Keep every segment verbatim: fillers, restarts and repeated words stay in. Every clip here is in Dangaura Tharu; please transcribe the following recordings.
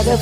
दाइ,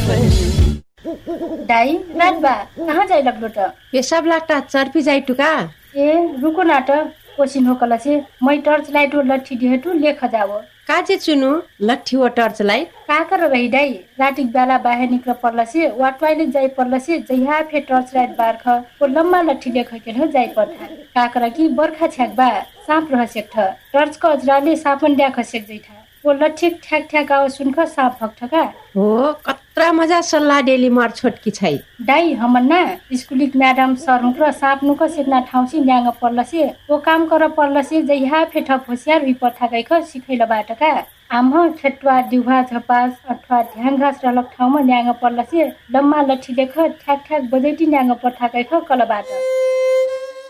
रात बा, कहाँ जाइ लग्लो त? पेसाब लाग्टा चर्फी जाइ टुका। ए, रुको ना त, कोसिन होकलसे मै टर्च लाइट ओ लट्ठी दिहेटु लेख जाओ। काजे चुनु, लट्ठी ओ टर्च लाइट? का कर रही दाइ? रातिक ब्याला बाहे निक्र पर्लसे वा ट्वाइलेट जाइ पर्लसे जहिया फे टर्च लाइट बार्ख ओ लम्मा लट्ठी लेख केल्ह जाइ पर्था। का कर कि बर्खा छ्याक बा, साँप रह सेक्ठ। टर्चक अजराले साँपन द्याख सेक जैठा। ओ लठ्ठीक ठ्याक ठ्याक आवाज सुनख साँप भक्ठका। हो, कत्रा मजा सल्लाह देली मार छोटकी छै। दाइ, हमन ना स्कुलिक म्याडम सर हुँक्र साँप नुक सेक्ना ठाउँसे न्याङ्ग पर्लसे ओ काम कर पर्लसे जहिया फे ठप होसियार हुइ पर्थाकैख सिखैल बाटका। आम्ह खेट्वा दिउहा झपास अथवा ध्यान घास रहलक ठाउँम न्याङ्ग पर्लसे लम्मा लठ्ठी लेख ठ्याक ठ्याक बजैटी न्याङ्ग पर्थाकैख कल बाट।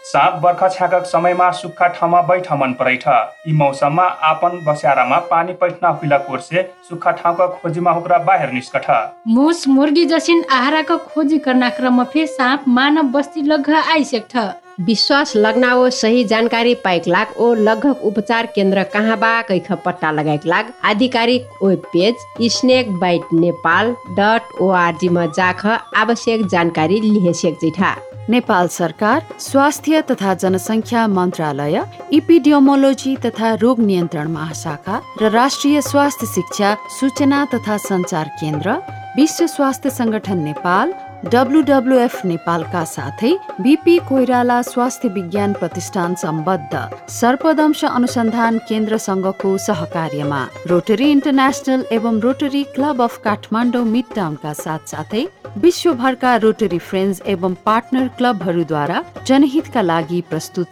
साँप बर्खा छ्याकक समयमा सुक्खा ठाउँमा बैठ मन परैठ। यि मौसममा आपन बस्यारामा पानी पैठना हुइला कोरसे सुक्खा ठाउँका खोजिमा हुक्रा बाहेर निस्कठ। मुस मुर्गी जसिन आहाराक खोजी कर्ना क्रम फे साँप मानव बस्ती लग्घ आइसेक्ठ। विश्वास लग्ना ओ सही जानकारी पाइक लाग ओ लग्घक उपचार केन्द्र कहाँ बा कैख पट्टा लगाइक लाग आधिकारिक web page snake bite Nepal dot ORG म जाख आवश्यक जानकारी लिहेसेक जैठा। नेपाल सरकार स्वास्थ्य तथा जनसंख्या मन्त्रालय, इपिडियोमोलोजी तथा रोग नियन्त्रण महाशाखा र राष्ट्रिय स्वास्थ्य शिक्षा सूचना तथा सञ्चार केन्द्र, विश्व स्वास्थ्य संगठन नेपाल, डब्लुडब्लुएफ नेपालका साथै बिपी कोइराला स्वास्थ्य विज्ञान प्रतिष्ठान सम्बद्ध सर्पदंश अनुसन्धान केन्द्रसँगको सहकार्यमा रोटरी इन्टरनेशनल एवं रोटरी क्लब अफ काठमाडौँ मिडटाउनका साथसाथै विश्वभरका रोटरी फ्रेन्ड्स एवं पार्टनर क्लबहरूद्वारा जनहितका लागि प्रस्तुत